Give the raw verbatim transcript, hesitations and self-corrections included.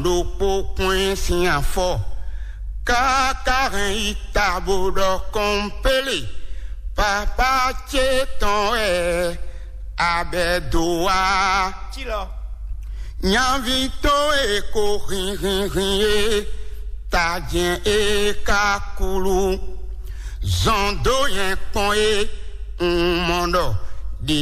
ɖokpó kpɔ́n ɛ sín afɔ, káká hɛn yi ta bó ɖɔ kɔnpélé, papá ce tɔn wɛ abɛ dó wá. Nyaví towe ko hinhinhin e, tajɛn e ka kulu, zɔn dó nyɛ kpɔn e, un mɔ ɖɔ ɖě